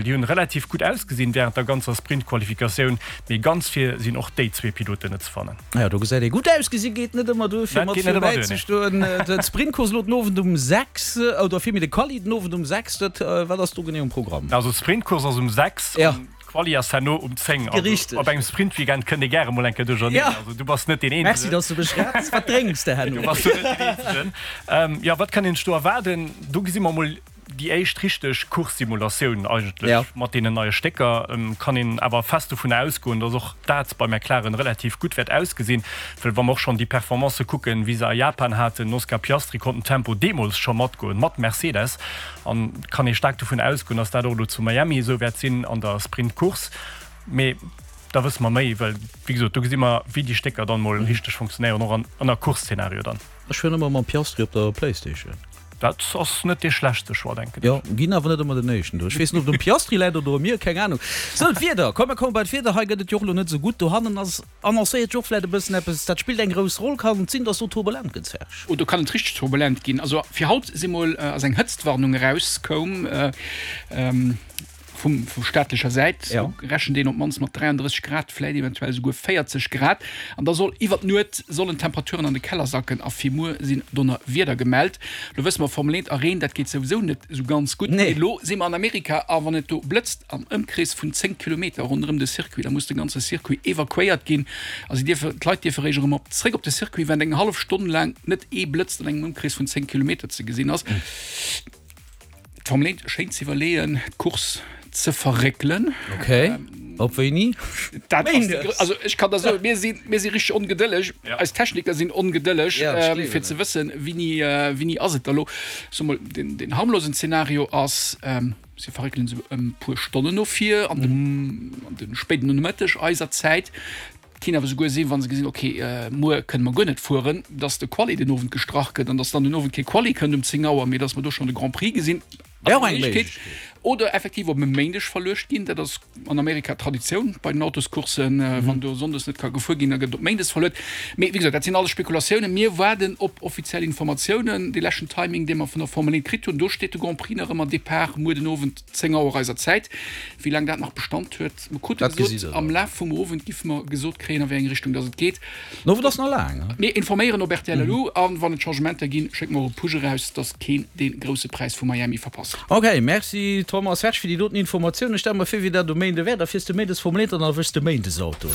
Déi hunn relativ gutt ausgesinn wärend der ganzer Sprint-Qualifikatioun, mee ganz vir sinn och déi zwee Piloten net ze fannen. Jo, do gesäit ee gutt ausgesinn, geet net ëmmer duer fir mat vir bäi ze stoen. D'Sprintcourse elo den Owend um 6, oder villméi de Quali den Owend um 6, dat wat ass do genee um Programm? Also d'Sprintcourse ass um 6 an d'Quali ass herno um 10. Also op engem Sprintweekend kënnt ee gäre mol eng Kéier duercherneen. Also du bass net deen Eenzegen. Merci, dass du mech retts. Wat drénks de herno? Du bass do net deen Eenzegen. Jo, wat kann een sech do erwaarden? Do gesi mer mol Déi éischt richteg Course-Simulatioun eigentlech mat deenen neie Stécker. Kann een awer fest dovun ausgoen, dass och dat bei McLaren relativ gutt wäert ausgesinn, well wa mer och schonn déi Performancë kucken, wéi se a Japan haten, den Oscar Piastri konnt den Tempo deemools scho matgoen mat Mercedes, an kann ee staark dovun ausgoen, dass dat och elo zu Miami esou wäert sinn an der Sprint-Course. Mee da wësse mer méi, well wéi gesot, do gesi mer, wéi déi Stécker dann mol richteg funktionéieren, och an ënner Course-Zenario dann. Ech fueren ëmmer mam Piastri op der Playstation. Dat ass net dee schlechtste Choix, denken ech. Jo, ginn awer net ëmmer den éischten do. Ech weess net, ob et um Piastri läit oder u mir, keng Anung. Sou, d'Wieder. Komm, mer komme bei d'Wieder. Hei gëtt et jo och elo net esou gutt. Dohannen ass annoncéiert jo och vläit e bëssen eppes. Dat spillt eng grouss Roll. Kann et sinn, dass do turbulent gëtt, Serge? Oh, do kann et richteg turbulent ginn. Also fir haut si mol, ass eng Hëtztwarnung erauskoum. Vum vu staatlecher Säit ja. rechent een op d'mannst mat 33 Grad, vläit eventuell esouguer 40 Grad. An da soll iwwer d'Nuet sollen d'Temperaturen an de Keller sacken a fir muer sinn Donnerwieder gemellt. Lo wësse mer, Formel 1 a Reen, dat geet souwisou net esou ganz gutt. Nee. Mee lo si mer an Amerika a wann et do blëtzt am Ëmkrees vun 10 Kilometer ronderëm de Circuit, da muss de ganze Circuit evakuéiert ginn a si dierfe, d'Leit dierfe réischt erëm op zréck op de Circuit, wann eng hallef Stonn laang net ee Blëtz an engem Ëmkrees vun 10 Kilometer ze gesinn ass. D'Formel 1 schéint ze iwwerleeën, d'Course ze verréckelen. Ok, op wéini? Dat ass déi gro-, also ech kann der soen, mir si, mir si richteg ongedëlleg, eis Techniker sinn ongedëlleg, fir ze wëssen, wéini, wéini ass et da lo. Ech soe mol, deen, deen harmlosen Zeenario ass, si verréckelen se ëm puer Stonnen no vir, an de, an de spéiden Nomëtteg eiser Zäit. Kinnt awer souguer sinn, wa se gesinn, ok, muer kënne mer guer net fueren, dass de Quali den Owend gestrach gëtt an dass dann den Owend kee Quali kënnt um 10 Auer, mee dass mer do schonn de Grand Prix gesinn. Wär och eng Méiglechkeet. Oder effektiv op e Méindeg verluecht ginn. Dat ass an Amerika Traditioun bei den Autoscourssen. Wann do sonndes net ka gefuer ginn, da gëtt et op méindes verluet. Mee wéi gesot, dat sinn alles Spekulatiounen. Mir waarden op offiziell Informatiounen. Dee leschten Timing, dee mer vun der Formel 1 kritt hunn, do steet de Grand Prix nach ëmmer Depart muer den Owend 10 Auer eiser Zäit. Wéi laang dat nach Bestand huet, Mer krute gesot, am Laf vum Owend giffe mer gesot kréien, a wéi eng Richtung dass et geet. Den Owend ass nach laang. Mir informéieren op rtl elo a wann et Changementer ginn, schécke mer och e Push eraus, dass keen dee grousse Präis vu Miami verpasst. Ok, Merci Thomas Serge fir déi doten Informatioun. Ech stelle mer vir, wéi dat um Méinde wär. Da fiers de méindes Formel 1 an erwëschs de Méindesauto.